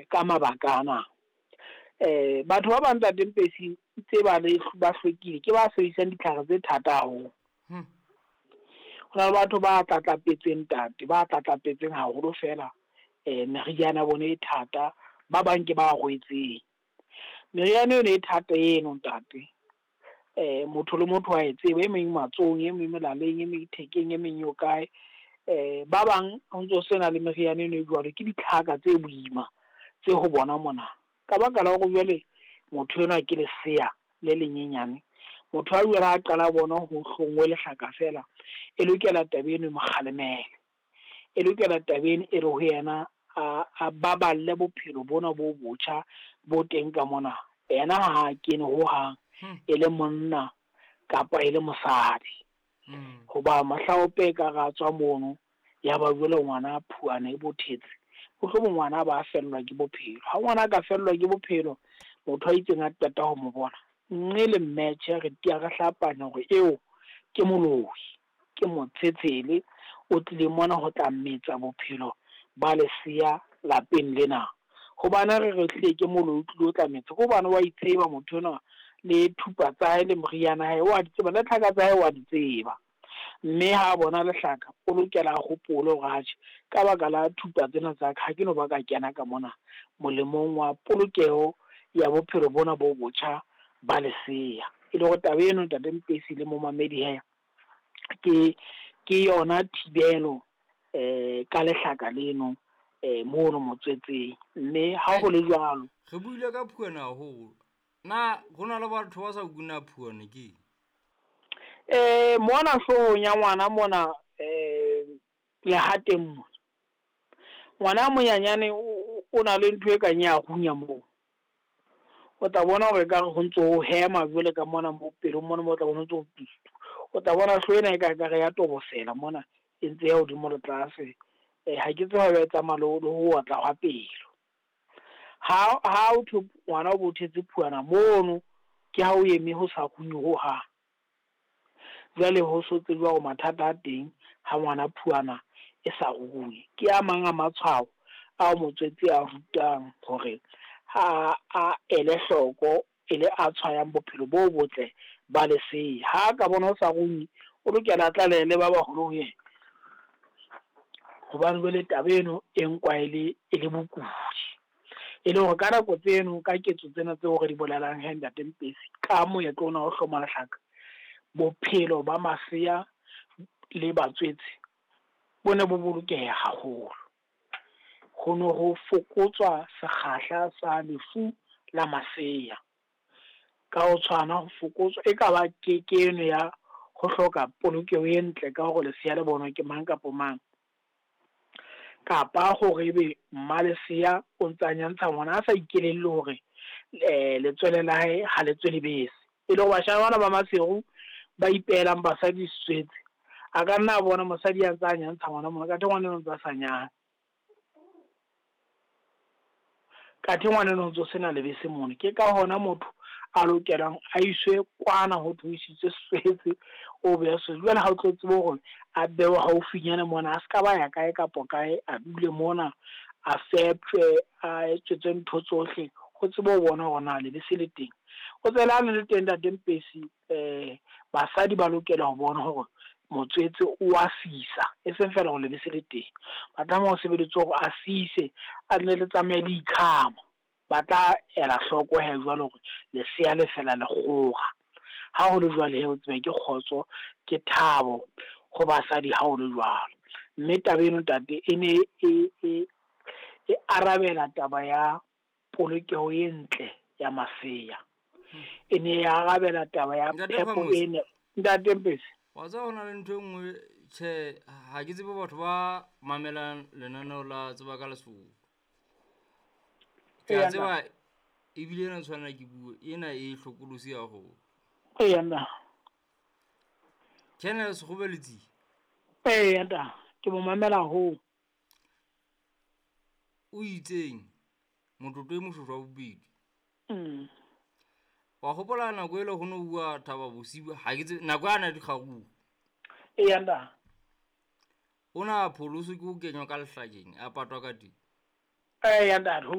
Ka mabaka ana. Batho ba bang Ntate Mpesi tse ba le ba hlwekile ke ba sebedisang ditlhare tse thata haholo. Ho na le batho ba tlatlapetseng ntate, ba tlatlapetseng haholo fela meriana ya bona e thata, ba bang ke ba rwetseng. Meriana eno e thata eno ntate, motho le motho wa e tseba, e meng matsohong, e meng molaleng, e meng thekeng, e meng e o kae. Ba bang ho ntso sena le meriana eno e jwalo, ke ditlhaka tse boima tse ho bona mona. Ka baka la hore jwale motho enwa ke lesea le lenyenyane, motho a jwale ha qala bona ho hlongwe lehlaka fela, e lokela taba eno e mo kgalemele. E lokela taba eno e re ho yena a baballe bophelo bona bo botjha bo teng ka mona. Yena ha kene hohang, e le monna kapa e le mosadi. Hoba mohlaope e ka re a tswa mono, ya ba jwale ngwana phuana e bothetse, mohlomong ngwana a ba fellwa ke bophelo. Ha ngwana a ka fellwa ke bophelo, motho a itseng a qeta ho mo bona, nne le mmetjhe re tia re hlapanya hore eo ke moloi, ke motshetshele o tlile mona ho tla metsa bophelo ba lesea lapeng lena. Hobane re re hlile ke moloi o tlile o tla metsa, ke hobane wa itseba motho enwa le thupa tsa hae le moriana hae wa di tseba, le tlhaka tsa hae wa di tseba. Mme ha bona lehlaka, o lokela a hopole hore atjhe, ka baka la thupa tsena tsa ka, ha ke no ba ka kena ka mona molemong wa polokeho ya bophelo bona bo botjha ba lesea. E le hore taba eno Ntate Mpesi le momamedi he, ke yona thibelo ka lehlaka leno mono motswetseng. Mme ha ho le jwalo, re buile ka phuana haholo. Na ho na le batho ba sa kuna phuana ke? Mona hloohong ya ngwana mona lehateng mona, ngwana a monyanyane o na le ntho e kang ya runya moo. O tla bona hore ekare ho ntso ho hema jwale ka mona mo pelong mona, mo tla bona ho ntso, o tla bona hlooho ena e ka ekare ya tobosela mona, e ntse ya hodimo le tlase. Ha ke tsebe ha e tsamaya le ho otla hwa pelo. Ha o thwe ngwana o bothetse phuana mono, ke ha o eme ho sa runye hohang. Jwale ho so tsejwa hore mathata a teng ha ngwana phuana e sa runye. Ke a mang a matshwao ao motswetse a rutang hore ha a ele hloko, e le a tshwayang bophelo bo botle ba lesea. Ha ka bona ho sa runye, o lokela a tlalehele ba baholo ho yena. Hobane jwale taba eno e nkwa e le bokudi. E le hore ka nako tseno, ka ketso tsena tseo re di bolelang he Ntate Mpesi, ka moetlo ona wa ho hloma lehlaka, bophelo ba masea le batswetse bo ne bo bolokeha haholo. Ho ne ho fokotswa sekgahla sa lefu la masea. Ka ho tshwana ho fokotswa, e ka ba ke eno ya ho hloka polokeho e ntle ka hore lesea le bonwe ke mang kapa mang. Kapa hore ebe mmalesea o ntsa nyantsha ngwana a sa ikelelle hore letswele la hae ha le tswe lebese. E le hore bashanyana bana ba Maseru ba ipehelang basadi setswetse, a ka nna a bona mosadi a ntsa nyantsha ngwana mona, kathe ngwana eno o ntsa sa nyane. Kathe ngwana eno o ntso sena lebese mona. Ke ka hona motho a lokelang a iswe kwana ho thwe o isitswe setswetse, o beha setswetse. Jwale ha o tlo tsebe hore a bewe haufinyana mona, a ska ba ya kae kapa kae, a dule mona, a feptjwe, a etsetswe ntho tsohle, ho tsebe ho bona hore na lebese le teng. O tsela le teng Ntate Mpesi, basadi ba lokela ho bona hore motswetse o a sisa, e seng fela hore lebese le teng. Ba tlameha ho sebeditswe hore a sise, a nne le tsamaye le ikhama. Ba tla ela hloko he jwale hore lesea le fela le kgora. Ha ho le jwale he o tsebe ke kgotso, ke thabo ho basadi ha ho le jwalo. Mme taba eno ntate e ne e arabela taba ya polokeho e ntle ya masea. E ne e arabela taba ya phepo e Ntate Mpesi. Wa tseba hona le ntho e nngwe, tjhe, ha ke tsebe batho ba mamelang lenaneo la Tseba ka Lesotho. Ke a tseba ebile ena tshwanela ke bue, ena e hlokolosi haholo. Eya nna. Colonel Sekgobeletsi. Eya nta, ke mo mamela haholo. O itseng motlotlo e moshweshwe wa bobedi. Wa hopola nako ele ho no bua Thaba Bosiu, ha ke tsebe nako yana dikgaruru. Eya nta. O na pholoswe ke ho kenywa ka lehlakeng, a patwa ka teng. Eya nta, ho